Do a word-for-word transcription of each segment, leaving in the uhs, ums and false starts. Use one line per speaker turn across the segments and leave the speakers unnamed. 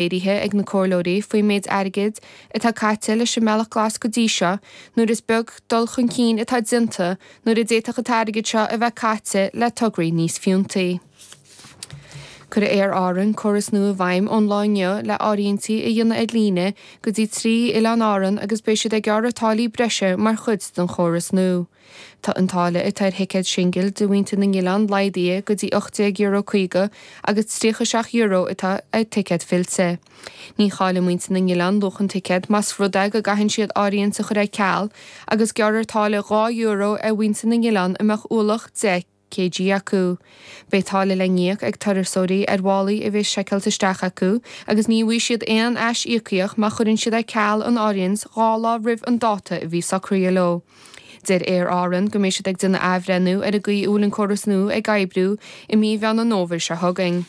Léirithe ag na comhairleoirí faoin méid airgid atá caite leis an mBealach Glas go dtí seo nuair is beag dul chun cinn atá déanta nuair a d'fhéadfadh an t-airgead seo a bheith caite le tograí níos fiúntaí. Cuirfidh Aer Árann córas nua i bhfeidhm ón lá inniu le áirithintí a dhéanamh ar líne go dtí trí oileán Árann agus beidh siad ag gearradh táillí breise mar chuid den chóras nua. Tá an táille atá ar thicéad singil do mhuintir na n-oileán laghdaithe go dtí ocht déag euro caoga agus tríocha seacht euro atá ar ticéad fillte. Ní chaillfidh muintir na n-oileán luach an ticéad más rud é go gcaitheann siad áirithint a chur ar ceal agus gearrfar táille dhá euro ar mhuintir na n-oileán a mbeadh ualach deich kg acu. Beidh táille le n-íoc ag turasóirí ar mhálaí a bheas seiceáilte isteach acu agus ní bhfaighidh siad aon ais-íocaíocht má chuireann siad ar ceal an áirithint dhá lá roimh an dáta a bhí socraithe leo. Deir Aer Árann go mbeidh siad ag déanamh athbhreithniú ar an gcaoi a bhfuil an córas nua ag oibriú i mí Mheán an Fhómhair seo chugainn.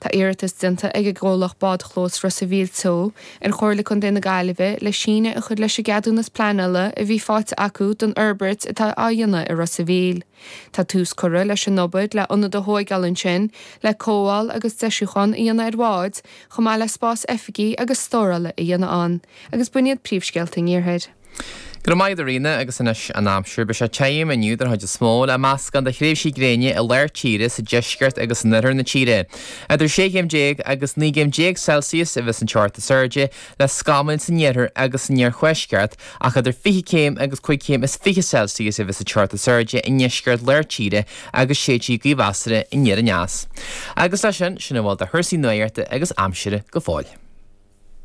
Tá iarratas déanta ag an gcomhlacht Bádchlós Ros a' Mhíl Teo ar Chomhairle Contae na Gaillimhe le síneadh a chur leis an gceadúnas pleanála a bhí faighte acu don fhorbairt atá á dhéanamh i Ros a' Mhíl. Tá tús curtha leis an obair le ionad a thóigeáil ansin le cothabháil agus deisiúchán a dhéanamh ar bháid chomh maith le spás oifigí agus stórála a dhéanamh ann. Agus b'in iad príomhscéalta an Iarthair.
Go raibh maith agat a Ríona agus anois an aimsir. Beidh sé tirim inniu den chuid is mó le meascán de thréimhsí gréine i lár tíre sa deisceart agus in oirthear na tíre. Idir sé chéim déag agus naoi gcéim déag Celsius a bheas an teocht is airde le scamaill san iarthar agus san iarthuaisceart ach idir fiche céim agus cúig chéim is fiche Celsius a bheas an teocht is airde i ndeisceart lár tíre agus séidfidh gaoth mheasartha aniar aneas. Agus leis sin, sin a bhfuil de chúrsaí nuachta agus aimsire go fóill.